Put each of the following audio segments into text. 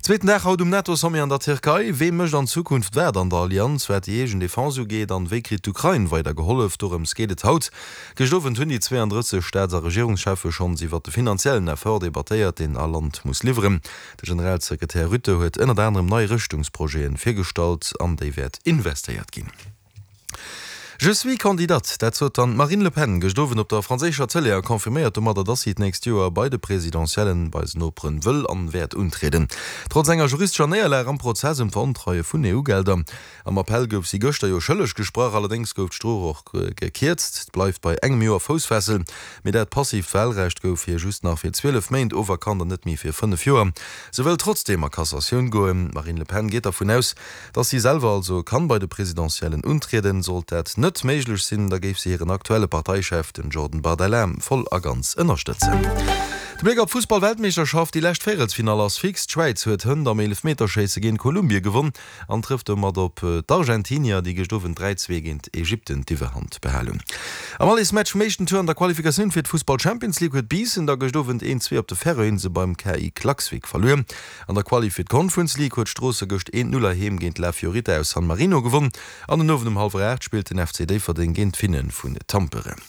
Zweeten Dag haut um NATO-Sommet an der Tierkei. Wee mécht an Zukunft wat an der Allianz, wat déi eegen Defense ugeet an wéi kritt d'Ukrain weider gehollef? Dorëms geet et haut. Gëscht Owend hunn déi 32 Staats a Regierungscheffe schonns iwwert de finanziellen Effort debattéiert, deen all Land muss liwweren. De Generalsekretär Rutte huet ënnert anerem nei Rëschtungsprojete virgestallt, an déi wäert investéiert ginn. Je suis candidate, dat sot dann d'Marine Le Pen gëscht Owend op der franséischer Tëlee a confirméiert domadder, dass si d'nächst Joer bei de Presidentiellen bei eisen Noperen wëll an wäert untrieden. Trotz enger juristescher Néierlag am Prozess ëm d'Verontreie vun EU-Gelder. Am Appell gouf si gëschter jo schëlleg gesprach, allerdéngs gouf d'Strof och gekierzt. Et bleift bei engem Joer Foussfessel, mee dat passiivt Wahlrecht gouf hir just nach fir 12 Méint oferkannt an net méi fir 5 Joer. Se wëll trotzdeem a Cassatioun goen. D'Marine Le Pen geet dervun aus, Datt si selwer also kann bei de Presidentiellen untrieden. Sollt dat net méiglech sinn, da géif si hiren aktuelle Parteichef, den Jordan Bardella, voll a ganz ënnerstëtzen. De Bléck op d'Fussball-Weltmeeschterschaft, Déi lescht Véierelsfinall ass fix. D'Schwäiz huet hënt am Eelefmeterschéisse géint Kolumbie gewonn an trëfft domat op d'Argentinier, déi gëscht Owend 3, 2 géint Ägypten d'Iwwerhand behal hunn. Am Allesmatch vum éischten Tour an der Qualifikatioun fir d'Fussball-Champions League huet Biissen da gëscht Owend 1, 2 op de Färöinsele beim KI Klaksvik verluer. An der Quali fir d'Conference League huet Stroosse gëscht 1, 0 heiheem géint La Fiorita aus San Marino gewonn an den Owend um hallwer 8 spillt den FC Déifferdeng géint d'Finne vun Tampere.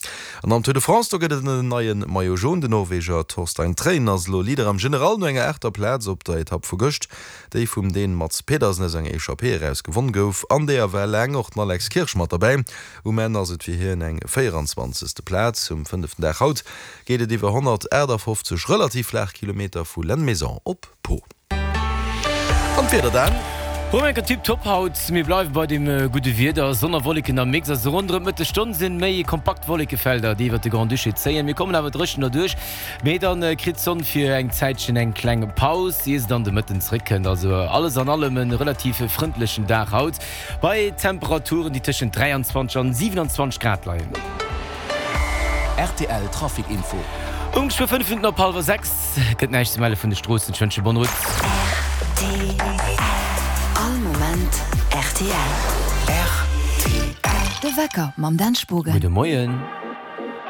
An am Tour de France, do gëtt et en neie Maillot Jaune. Den Norweger Torstein Træen ass elo Leader am General no enger aachter Plaz op der Etapp vu gëscht, déi vum Dän Mads Pedersen aus enger Echappée eraus gewonn gouf. An deeër war laang och den Alex Kirsch mat derbäi. Um Enn ass et fir hien eng 24. Plaz. Um fënneften Dag haut geet et iwwer 158 relativ flaach Kilometer vu Lannemezan op Pau. An d'Wieder dann? Romain, Tip top haut, mir bleiwe bei dem gudde Wieder, Sonn a Wolleken am Mix. Also ronderëm d'Mëttesstonn sinn méi kompakt Wollekefelder, déi iwwert de Grand-Duché zéien. Mir kommen awer dréchen derduerch, mee dann kritt d'Sonn fir eng Zäitchen eng kleng Paus, ier se dann de Mëtten zréckkënnt. Also alles an allem e relativ frëndlechen Dag haut. Bei Temperaturen, déi tëschent 23 an 27 Grad leien. Rtl Trafic Info. Um geschwë 5 Minutten op hallwer 6 gëtt näischt ze melle vun de Stroossen. Ech wënsche bonne route. Rtl. All Moment rtl. Rtl. De Wecker mam Dan Spogen. Gudde Moien.